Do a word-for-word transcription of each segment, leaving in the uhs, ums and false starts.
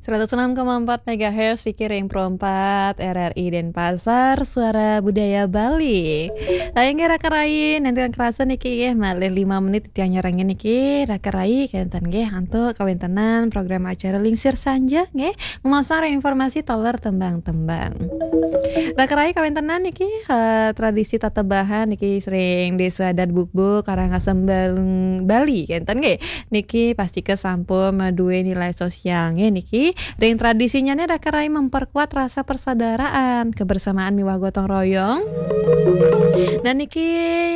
Seratus enam koma empat megahertz, Siki Ring Pro empat, R R I Denpasar, Suara Budaya Bali. Nah, inggih raka rai, nanti kerasa niki ya, malih lima menit titiang nyarengin niki, raka rai, kenten nggih, antuk kawéntenan program acara Lingsir Sanja nggih, memasang informasi taler tembang-tembang. Raka rai kawéntenan niki, eh, tradisi tatebahan niki ring Désa Adat Bukbuk, Karangasem Bal-, Bali, kenten nggih. Niki pastika sampun madué nilai sosial nggih niki. Ring tradisinyané raka rai memperkuat rasa persaudaraan, kebersamaan miwah gotong royong. Dan niki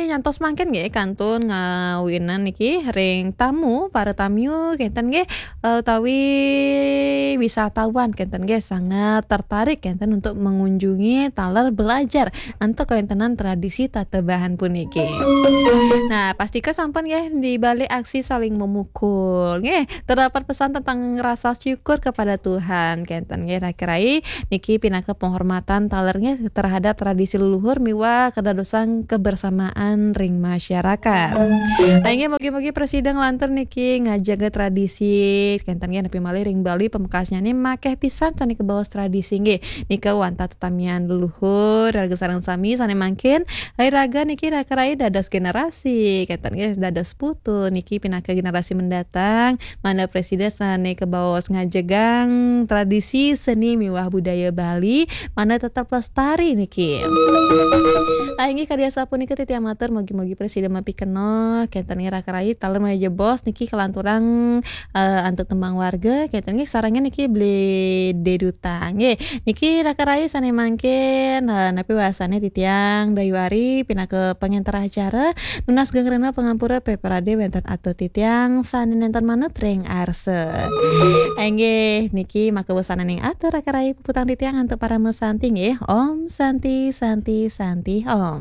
nyantos mangkin nggih kantun ngawinan niki ring tamu, para tamiu kenten nggih, eh, utawi wisatawan kenten nggih sangat tertarik kenten untuk mengunjungi taler belajar antuk kawéntenan tradisi tatebahan puniki. Nah, pastika sampun nggih di balik aksi saling memukul nggih, terdapat pesan tentang rasa syukur kepada Tuhan kenten nggih. Nah, raka rai niki pinaka penghormatan taler nggih terhadap tradisi leluhur miwah kedadosan kebersamaan ring masyarakat. Nah, inggih mugi-mugi prasida nglantur niki ngajaga tradisi kenten nggih, napi malih ring Bali pamekasnyané makéh pisan sané kabaos tradisi nggih. Nika wantah tetamian leluhur, raga sareng sami sané mangkin, iraga niki raka rai dados generasi, kenten nggih dados putu niki pinaka generasi mendatang, mangda prasida sané kabaos ngajegang tradisi seni miwah budaya Bali, mangda tetep lestari niki. Ah, inggih kadi asapunika titiang matur, mugi-mugi prasida mapikenoh, kenten nggih raka rai, taler malih jebos niki kalanturang eh, antuk tembang warga, kenten nggih sarengin niki beli deduta. Nggih, niki raka rai sané mangkin, eh, napi wasané titiang Dayu Ari pinaka pangenter acara, nunas geng rena pangampura pepradé wénten atur titiang sané nénten manut ring arsa. Inggih, niki maka wasananing atur raka rai puputang titiang antuk parama santi nggih. Om Santi, Santi, Santi, Om.